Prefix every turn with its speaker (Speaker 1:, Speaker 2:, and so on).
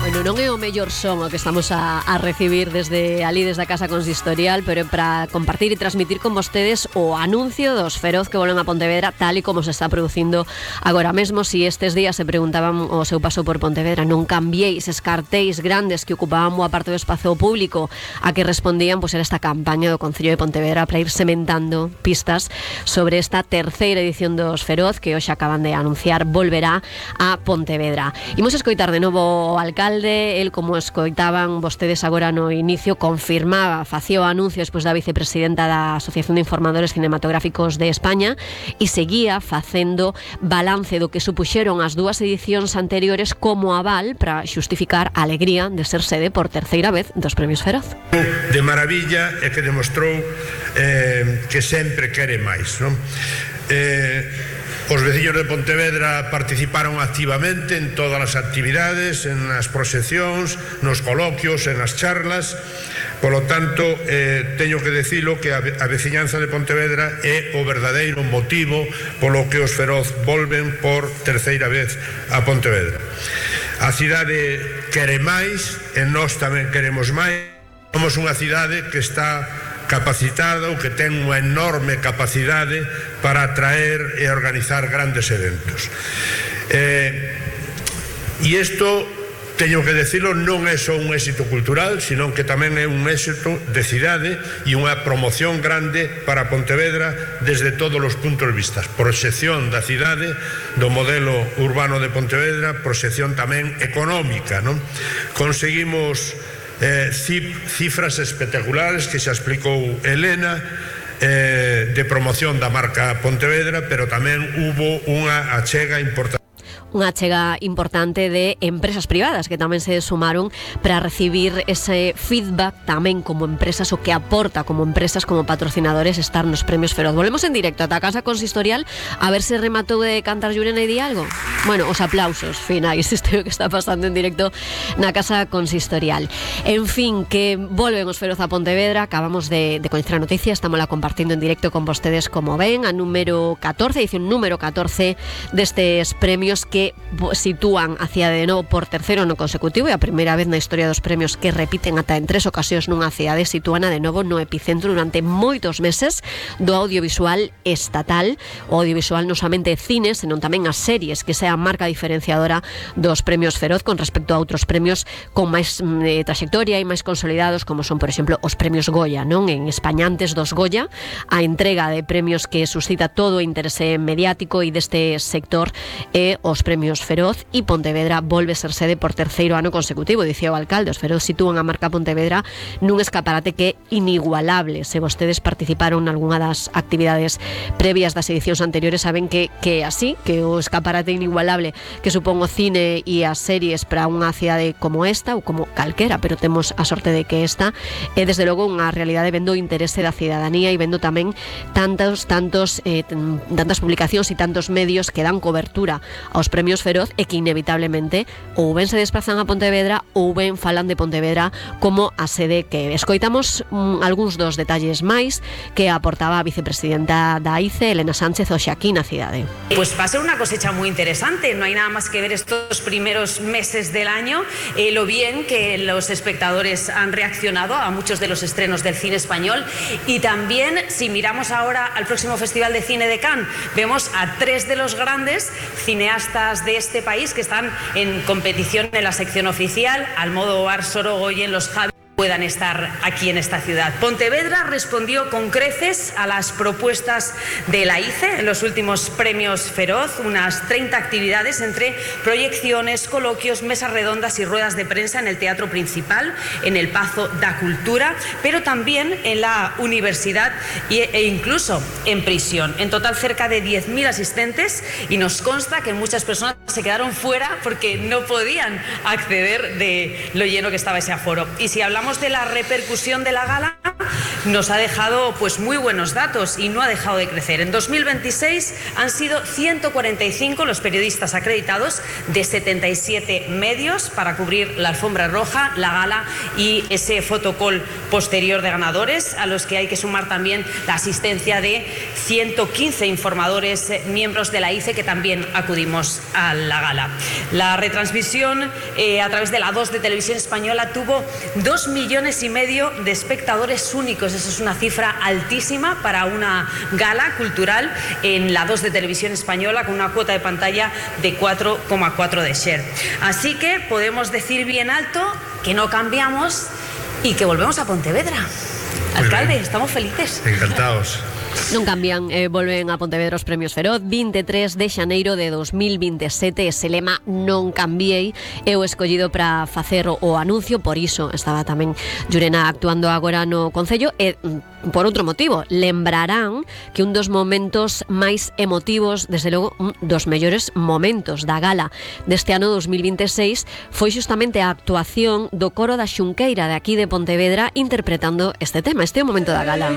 Speaker 1: Bueno, non é o mellor son o que estamos a recibir desde a Casa Consistorial, pero é para compartir e transmitir con vostedes o anuncio dos Feroz que volven a Pontevedra, tal e como se está producindo agora mesmo. Si estes días se preguntaban o seu paso por Pontevedra, non cambiéis eses cartéis grandes que ocupaban boa parte do espazo público, a que respondían era esta campaña do Concello de Pontevedra para ir sementando pistas sobre esta terceira edición dos Feroz que hoxe acaban de anunciar volverá a Pontevedra. Imos escoitar de novo o alcalde. El, como escoitaban vostedes agora no inicio, confirmaba, facía o anuncio despois da vicepresidenta da Asociación de Informadores Cinematográficos de España e seguía facendo balance do que supuxeron as dúas edicións anteriores como aval para xustificar a alegría de ser sede por terceira vez dos Premios Feroz.
Speaker 2: De maravilla e que demostrou que sempre quere máis, non? Os veciños de Pontevedra participaron activamente en todas as actividades, en as proxeccións, nos coloquios, en as charlas. Polo tanto, teño que dicilo que a veciñanza de Pontevedra é o verdadeiro motivo polo que os Feroz volven por terceira vez a Pontevedra. A cidade quere máis e nós tamén queremos máis. Somos unha cidade que está capacitada ou que ten unha enorme capacidade para atraer e organizar grandes eventos. E isto, teño que decirlo, non é só un éxito cultural, sino que tamén é un éxito de cidade e unha promoción grande para Pontevedra desde todos os puntos de vista. Proxección da cidade, do modelo urbano de Pontevedra, proxección tamén económica, non? Conseguimos cifras espectaculares que xa explicou Elena, de promoción da marca Pontevedra, pero tamén hubo unha achega importante.
Speaker 1: Unha chega importante de empresas privadas que tamén se sumaron para recibir ese feedback tamén como empresas, o que aporta como empresas, como patrocinadores, estar nos Premios Feroz. Volvemos en directo ata a Casa Consistorial a ver se rematou de cantar Llurena e di algo. Bueno, os aplausos finais, isto é o que está pasando en directo na Casa Consistorial. En fin, que volven os Feroz a Pontevedra. Acabamos de coñecer a noticia, estamos la compartindo en directo con vostedes, como ven, a número 14, edición número 14 destes premios que sitúan a cidade de novo por terceiro ano consecutivo, e a primeira vez na historia dos premios que repiten ata en 3 ocasións nunha cidade, sitúana de novo no epicentro durante moitos meses do audiovisual estatal. O audiovisual non somente cine, senón tamén as series, que sea a marca diferenciadora dos Premios Feroz con respecto a outros premios con máis trayectoria e máis consolidados, como son, por exemplo, os Premios Goya, non? En España, antes dos Goya, a entrega de premios que suscita todo o interese mediático e deste sector e os Premios Feroz, e Pontevedra volve ser sede por terceiro ano consecutivo. Dicía o alcalde, os Feroz sitúan a marca Pontevedra nun escaparate que é inigualable. Se vostedes participaron nalgúna das actividades previas das edicións anteriores, saben que así, que o escaparate inigualable que supón o cine e as series para unha cidade como esta, ou como calquera, pero temos a sorte de que esta é desde logo unha realidade, vendo o interese da cidadanía e vendo tamén tantas publicacións e tantos medios que dan cobertura aos Premios Feroz, e que inevitablemente ou ben se desplazan a Pontevedra ou ben falan de Pontevedra como a sede que escoitamos. Algúns dos detalles máis que aportaba a vicepresidenta da AICE, Elena Sánchez, hoxe aquí na cidade.
Speaker 3: Pues va a ser una cosecha muy interesante. No hay nada más que ver estos primeros meses del año, lo bien que los espectadores han reaccionado a muchos de los estrenos del cine español, y también, si miramos ahora al próximo Festival de Cine de Cannes, vemos a 3 de los grandes cineastas de este país que están en competición en la sección oficial: Almodóvar, Sorogoyen, los Javi, puedan estar aquí en esta ciudad. Pontevedra respondió con creces a las propuestas de la ICE en los últimos Premios Feroz, unas 30 actividades entre proyecciones, coloquios, mesas redondas y ruedas de prensa en el Teatro Principal, en el Pazo da Cultura, pero también en la universidad e incluso en prisión. En total, cerca de 10.000 asistentes, y nos consta que muchas personas se quedaron fuera porque no podían acceder de lo lleno que estaba ese aforo. Y si hablamos de la repercusión de la gala, nos ha dejado pues muy buenos datos y no ha dejado de crecer. En 2026 han sido 145 los periodistas acreditados de 77 medios para cubrir la alfombra roja, la gala y ese fotocall posterior de ganadores, a los que hay que sumar también la asistencia de 115 informadores, miembros de la ICE, que también acudimos a la gala. La retransmisión a través de la 2 de Televisión Española tuvo 2,5 millones de espectadores únicos. Eso es una cifra altísima para una gala cultural en la 2 de Televisión Española, con una cuota de pantalla de 4,4 de share. Así que podemos decir bien alto que no cambiamos y que volvemos a Pontevedra. Alcalde, estamos felices.
Speaker 2: Encantados.
Speaker 1: Non cambian, volven a Pontevedra os Premios Feroz 23 de xaneiro de 2027. Ese lema non cambiei é o escollido para facer o anuncio. Por iso estaba tamén Llurena actuando agora no Concello. E por outro motivo, lembrarán que un dos momentos máis emotivos, desde logo un dos mellores momentos da gala deste ano 2026, foi xustamente a actuación do coro da Xunqueira de aquí de Pontevedra interpretando este tema. Este é o momento da gala.